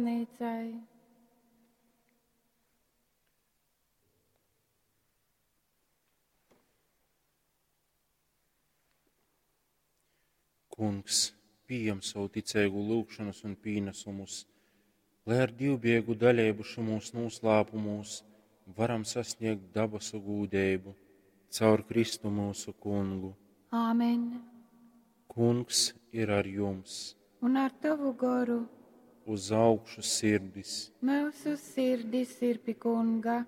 Bazneicai. Kungs, pījem savu ticeigu lyugšonas un pīnasumus, lai ar dīvbijeigu daleibu šymūs nūslāpumūs varam sasnēgt dabasu gūdeibu caur Kristu myusu Kungu. Āmen. Kungs ir ar jums. Un ar tavu goru. Uz augšu sirdis. Myusu sirdis ir pi Kunga.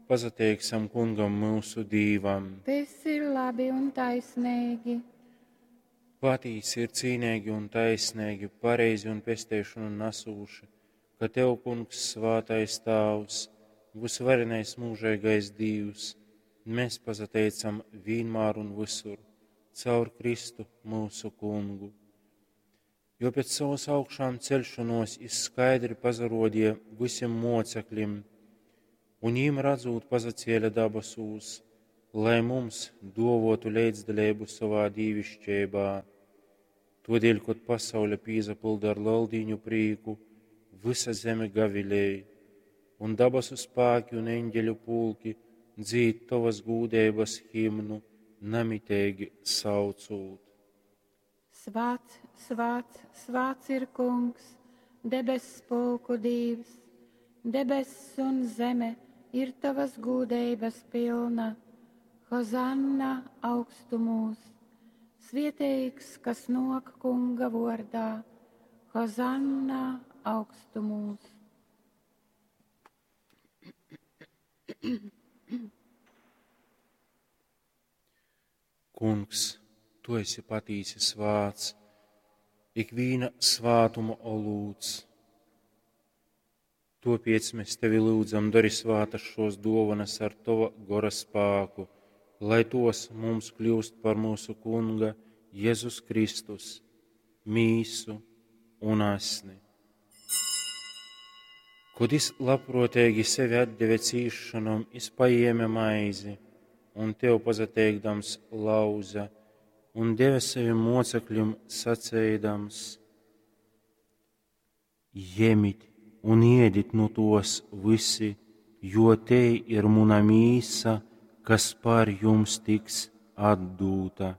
Pasateiksim Kungam myusu Dīvam. Tas ir labi un taisnīgi. Patīsi ir cīneigi un taisneigi, pareizi un pesteišonu nasūši, ka Tev, Kungs, svātais Tāvs, vysvarenais mūžeigais Dīvs, mēs pasateicam vienmēr un visur, caur Kristu mūsu Kungu. Jo pēc savas augšām celšanos jis skaidri pazarodīja visiem mocekļiem, un jīm redzot pazacēla dabasūs, lai mums dovotu līdzdaļību savā dīvišķībā. Todēļ, kad pasaule pīzapilda ar leldīņu prīku, visa zeme gavilēja, un dabasu spēki un eņģeļu pulki dzīd tavas gūdeibas himnu, namiteigi saucūt. Svāts, svāts, svāts ir kungs, debess pulku dīvs, debess un zeme ir tavas gūdeibas pilna. Hozanna augstumūs, svieteigs, kas nok kunga vordā. Hozanna augstumūs. Kungs, tu esi patīsi svāts, ikvīna svātuma olūts. Topiec mēs tevi lūdzam, dari svātas šos dovanas ar tava gora spēku, lai tos mums kļūst par mūsu Kunga Jēzus Kristus, mīsu un asni. Kad es labprātīgi sevi atdeve cīšanom, es paēma maizi un tev pazateikdams lauza un deva saviem mocekļiem sacēdams: Jemit un iedit nu tos visi, jo te ir muna mīsa, kas par jums tiks atdūta.